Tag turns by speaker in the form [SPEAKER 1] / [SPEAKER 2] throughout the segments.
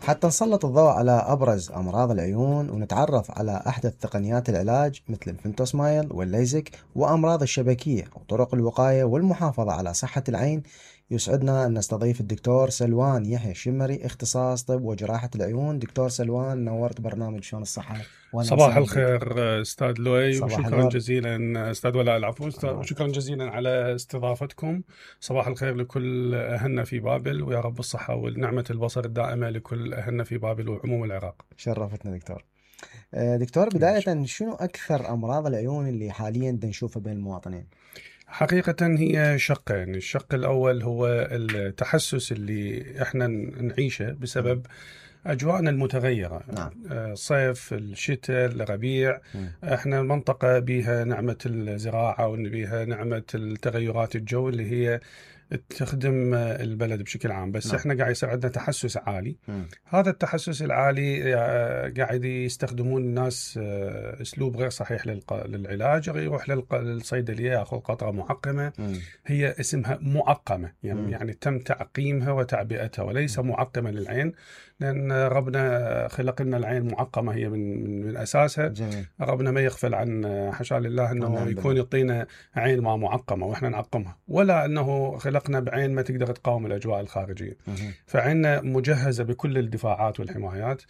[SPEAKER 1] حتى نسلط الضوء على أبرز أمراض العيون ونتعرف على أحدث تقنيات العلاج مثل الفنتوسمايل والليزك وأمراض الشبكية وطرق الوقاية والمحافظة على صحة العين، يسعدنا أن نستضيف الدكتور سلوان يحيى الشمري، اختصاص طب وجراحة العيون. دكتور سلوان، نورت برنامج شلون الصحة.
[SPEAKER 2] صباح الخير أستاذ لؤي، وشكرا
[SPEAKER 1] النور.
[SPEAKER 2] جزيلا أستاذ ولاء، العفو، وشكرا جزيلا على استضافتكم. صباح الخير لكل أهلنا في بابل، ويا رب الصحة والنعمة البصر الدائمة لكل أهلنا في بابل وعموم العراق.
[SPEAKER 1] شرفتنا دكتور. دكتور، بداية شنو أكثر أمراض العيون اللي حاليا نشوفها بين المواطنين؟
[SPEAKER 2] حقيقة هي شقين. الشق الأول هو التحسس اللي احنا نعيشه بسبب أجواءنا المتغيرة.
[SPEAKER 1] نعم.
[SPEAKER 2] صيف، الشتاء، الربيع. احنا منطقة بها نعمة الزراعة وبها نعمة التغيرات الجو اللي هي تخدم البلد بشكل عام، بس احنا قاعد يصير عندنا تحسس عالي. هذا التحسس العالي قاعد يستخدمون الناس اسلوب غير صحيح للعلاج. يروح للصيدليه ياخذ قطره معقمه. هي اسمها معقمه، يعني تم تعقيمها وتعبئتها وليس معقمه للعين، لان ربنا خلق لنا العين معقمه هي من اساسها.
[SPEAKER 1] جميل.
[SPEAKER 2] ربنا ما يغفل عن حاشا لله انه يكون يعطينا عين ما معقمه واحنا نعقمها، ولا انه خلقنا بعين ما تقدر تقاوم الاجواء الخارجيه. فعيننا مجهزه بكل الدفاعات والحمايات،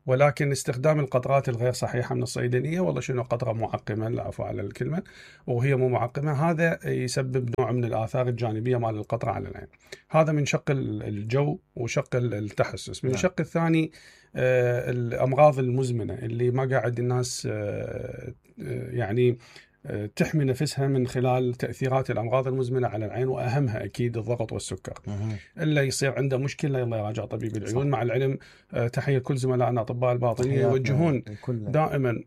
[SPEAKER 2] ولكن استخدام القطرات الغير صحيحه من الصيدليه، والله شنو قطره معقمه، العفو على الكلمه، وهي مو معقمه، هذا يسبب نوع من الاثار الجانبيه مال القطره على العين. هذا من شق الجو وشق التحسس. من الشق الثاني الامراض المزمنه اللي ما قاعد الناس يعني تحمي نفسها من خلال تأثيرات الأمراض المزمنة على العين، وأهمها أكيد الضغط والسكر. إلا يصير عنده مشكلة يلا يراجع طبيب العيون. مع العلم تحية كل زملائنا أطباء الباطنية يوجهون دائما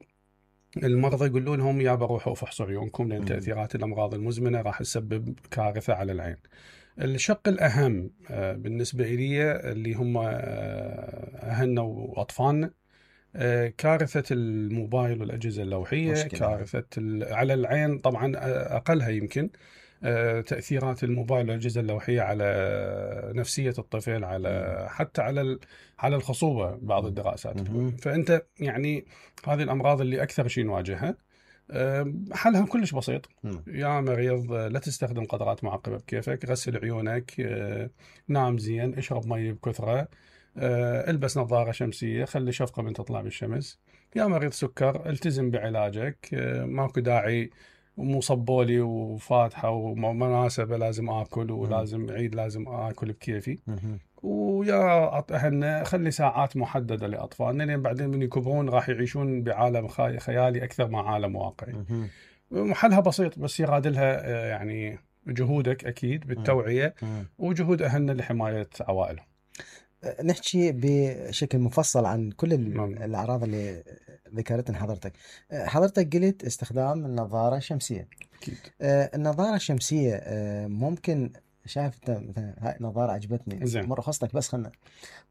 [SPEAKER 2] المرضى، يقولون لهم يا بروحوا فحصوا عيونكم، لأن تأثيرات الأمراض المزمنة راح تسبب كارثة على العين. الشق الأهم بالنسبة لي اللي هم أهلنا وأطفالنا، كارثة الموبايل والأجهزة اللوحية، كارثة على العين طبعا أقلها يمكن تأثيرات الموبايل والأجهزة اللوحية على نفسية الطفل، على حتى على الخصوبة بعض الدراسات. فأنت يعني هذه الأمراض اللي أكثر شيء نواجهها. حلها كلش بسيط. يا مريض لا تستخدم قطرات معقمة بكيفك، غسل عيونك، نام زين، اشرب مي بكثرة، البس نظارة شمسية، خلي شفقة من تطلع بالشمس. يا مريض سكر التزم بعلاجك، ماكو داعي مصبولي وفاتحة ومناسبة لازم آكل ولازم عيد لازم آكل بكيفي. ويا أهلنا خلي ساعات محددة لأطفالنا، لأن بعدين من يكبرون راح يعيشون بعالم خيالي أكثر ما عالم واقعي. محلها بسيط، بس يرادلها يعني جهودك أكيد بالتوعية وجهود أهلنا لحماية عوائلهم.
[SPEAKER 1] نحكي بشكل مفصل عن كل الأعراض اللي ذكرتها حضرتك. حضرتك قلت استخدام النظارة الشمسية.
[SPEAKER 2] أكيد.
[SPEAKER 1] النظارة الشمسية ممكن، شايف مثلا هاي نظارة عجبتني
[SPEAKER 2] زين.
[SPEAKER 1] مرة خصتك، بس خلنا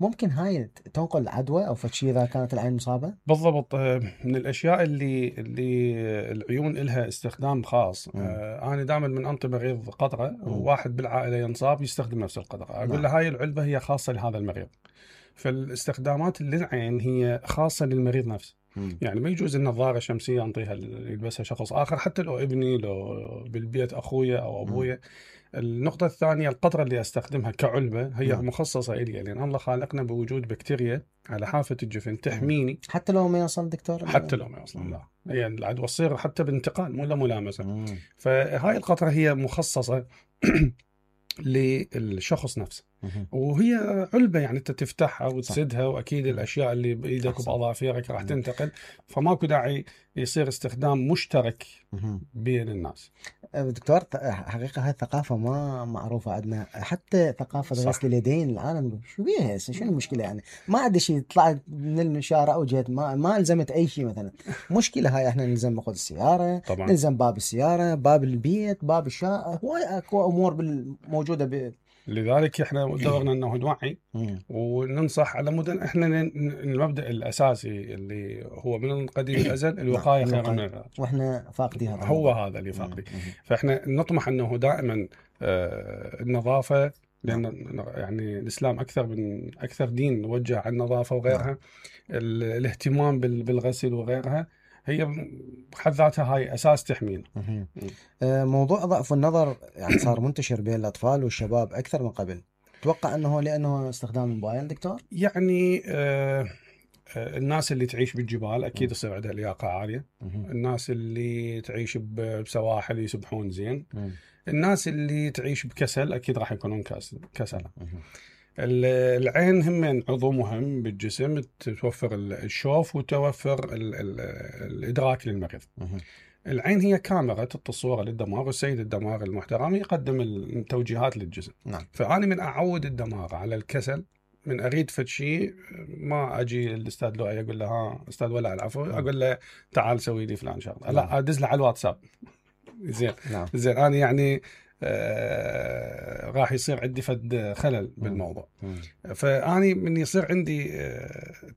[SPEAKER 1] ممكن هاي تنقل عدوى أو فشي إذا كانت العين مصابة؟
[SPEAKER 2] بالضبط. من الأشياء اللي العيون إلها استخدام خاص. أنا دائما من أنطي مريض قطرة وواحد بالعائلة ينصاب يستخدم نفس القطرة، أقول له هاي العلبة هي خاصة لهذا المريض. فالاستخدامات للعين هي خاصة للمريض نفسه. يعني ما يجوز النظارة الشمسية أنطيها يلبسها شخص آخر، حتى لو ابني، لو بالبيت أخويا أو أبويا. النقطة الثانية، القطرة اللي أستخدمها كعلبة هي مخصصة إلي، لأن الله خالقنا بوجود بكتيريا على حافة الجفن تحميني.
[SPEAKER 1] حتى لو ما يوصل دكتور؟
[SPEAKER 2] حتى لو ما يوصل، لا، هي العدوى تصير حتى بانتقال مو ملامسة. فهاي القطرة هي مخصصة للشخص نفسه، وهي علبة يعني أنت تفتحها وتسدها، وأكيد الأشياء اللي بإيدك وبأظافرك راح تنتقل، فماكو داعي يصير استخدام مشترك بين الناس.
[SPEAKER 1] دكتور، حقيقة هاي الثقافة ما معروفة عندنا، حتى ثقافة غسل اليدين العالم شو بيها هسه، شنو المشكلة يعني؟ ما عندي شيء، طلعت من الشارع وجيت ما الزمت أي شيء مثلا. مشكلة هاي، احنا نلزم ناخذ السيارة طبعا. نلزم باب السيارة، باب البيت، باب الشقة، هواي اكو أمور موجودة
[SPEAKER 2] لذلك احنا دورنا انه نوعي وننصح على مدن. احنا المبدأ الاساسي اللي هو من قديم الازل الوقاية خير من العلاج،
[SPEAKER 1] واحنا فاقدين
[SPEAKER 2] هذا اللي فاقدين. فاحنا نطمح انه دائما النظافة لان يعني الاسلام اكثر دين موجه على النظافه وغيرها. الاهتمام بالغسل وغيرها هي بحد ذاتها هاي اساس تحمينا.
[SPEAKER 1] موضوع ضعف النظر يعني صار منتشر بين الاطفال والشباب اكثر من قبل. تتوقع انه لانه استخدام الموبايل دكتور؟
[SPEAKER 2] يعني الناس اللي تعيش بالجبال اكيد يصير عندها لياقه عاليه. الناس اللي تعيش بسواحل يسبحون زين. الناس اللي تعيش بكسل اكيد راح يكونون كسلة. العين هم عضو مهم بالجسم، توفر الشوف وتوفر الادراك للمريض. العين هي كاميرا الصورة للدماغ، والسيد الدماغ المحترم يقدم التوجيهات للجسم. فأنا من أعود الدماغ على الكسل، من أريد فد شيء ما أجي الأستاذ لؤي أقول له ها أستاذ ولا العفو، أقول له تعال سوي لي فلان شغلة، لا أدز له على الواتساب. زين أنا يعني راح يصير عندي فد خلل بالموضوع. فأني من يصير عندي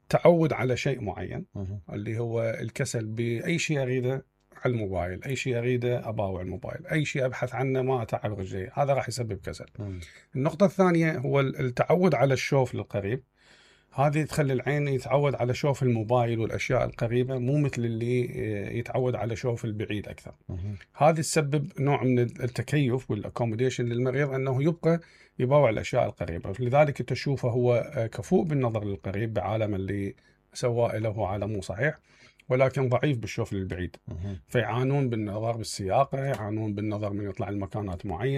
[SPEAKER 2] تعود على شيء معين اللي هو الكسل بأي شيء أريده على الموبايل، أي شيء أريده أباوع الموبايل، أي شيء أبحث عنه ما أتعب رجلي، هذا راح يسبب كسل. النقطة الثانية هو التعود على الشوف للقريب. هذه تخلي العين يتعود على شوف الموبايل والأشياء القريبة، مو مثل اللي يتعود على شوف البعيد أكثر. هذه تسبب نوع من التكيف والأكوموديشن للمريض، أنه يبقى يباوع الأشياء القريبة. لذلك تشوفه هو كفؤ بالنظر للقريب بعالم اللي سواء له عالم مو صحيح، ولكن ضعيف بالشوف للبعيد. فيعانون بالنظر بالسياقة، يعانون بالنظر من يطلع المكانات معينة.